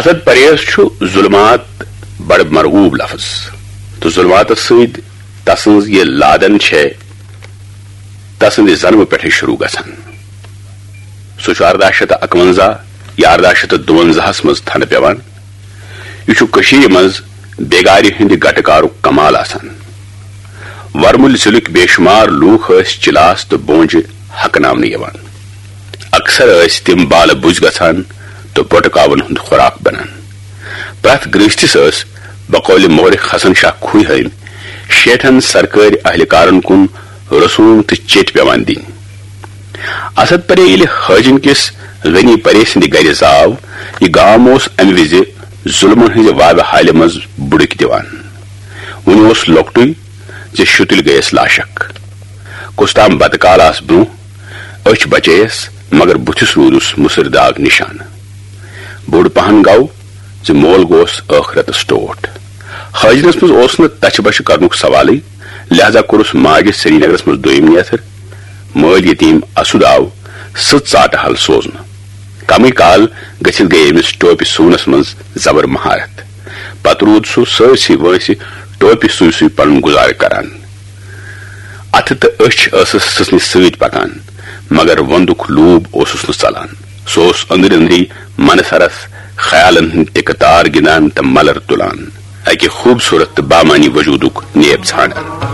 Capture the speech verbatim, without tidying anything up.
اسد پریز چھُ ظلمات بڑٕ مرغوب لفظ، تہٕ ظلماتس سۭتۍ تسٕنز یہِ لادن چھے تسٕندِ زنمہٕ پٮ۪ٹھے شروع گژھان۔ سُہ چھُ ارداہ شیٚتھ تہٕ اکونزہ یا ارداہ شیٚتھ تہٕ دُونزاہس منٛز تھنہٕ پٮ۪وان۔ یہِ چھُ کٔشیٖرِ منٛز بیگارِ ہٕنٛدِ گٹہٕ کارُک کمال آسان۔ ورمُلۍ ضلعٕکۍ بے شمار لوٗکھ ٲسۍ چلاس تہٕ بونجہِ ہکناونہٕ یِوان۔ اکثر ٲسۍ تِم بالہٕ بُزۍ گژھان تہٕ بۄٹہٕ کاوَن ہُنٛد خوراک بنان۔ پرٛٮ۪تھ گرٛہستِس ٲس بقولِ مورخ حسن شاہ کھوٗہۍ ہٲمۍ شیٹھن سرکٲرۍ اہلکارن کُن رسوم تہٕ چیٚٹۍ پٮ۪وان دِنۍ۔ اسد پرے ییٚلہِ حٲجِن کِس غنی پرے سٕنٛدِ گرِ زاو، یہِ گام اوس امہِ وِزِ ظُلمن ہٕنٛزِ وابہِ حالہِ منٛز بُڈٕکۍ دِوان۔ وُنہِ اوس لۄکٹُے زِ شُتٕلۍ گٔیَس لاشک۔ کُس تام بتہٕ کال آس برونٛہہ، أچھ بچییس، مگر بُتھِس روٗدُس مُسٕر داغ نِشانہٕ۔ بوٚڑ پہن گوٚو زِ مول گوس ٲخرتس ٹوٹھ۔ حٲجنس منٛز اوس نہٕ تچھِ بچھِ کرنُک سوالٕے، لہذا کوٚرُس ماجہِ سرینگرس منٛز دوٚیِم نیتھٕر۔ مٲلۍ یتیٖم اسُد آو سٕژ ژاٹہٕ حل سوزنہٕ۔ کمٕے کال گٔژھِتھ گٔیہِ أمِس ٹوپہِ سُونس منٛز زبر مہارت۔ پتہٕ روٗد سُہ سٲرسٕے وٲنٛسہِ ٹوپہِ سُوۍ سُوۍ پنُن گُزارٕ کران۔ اتھٕ تہٕ أچھ ٲسٕس سٕژنہِ سۭتۍ پکان، مگر وندُک لوٗب اوسُس نہٕ ژلان۔ سُہ اوس أنٛدرۍ أنٛدری منصرس خیالن ہٕنٛدۍ ٹِکہٕ تار گِنٛدان تہٕ ملر تُلان، اکہِ خوٗبصوٗرت تہٕ بامعنی وجوٗدُک نیب ژھانٛڈان۔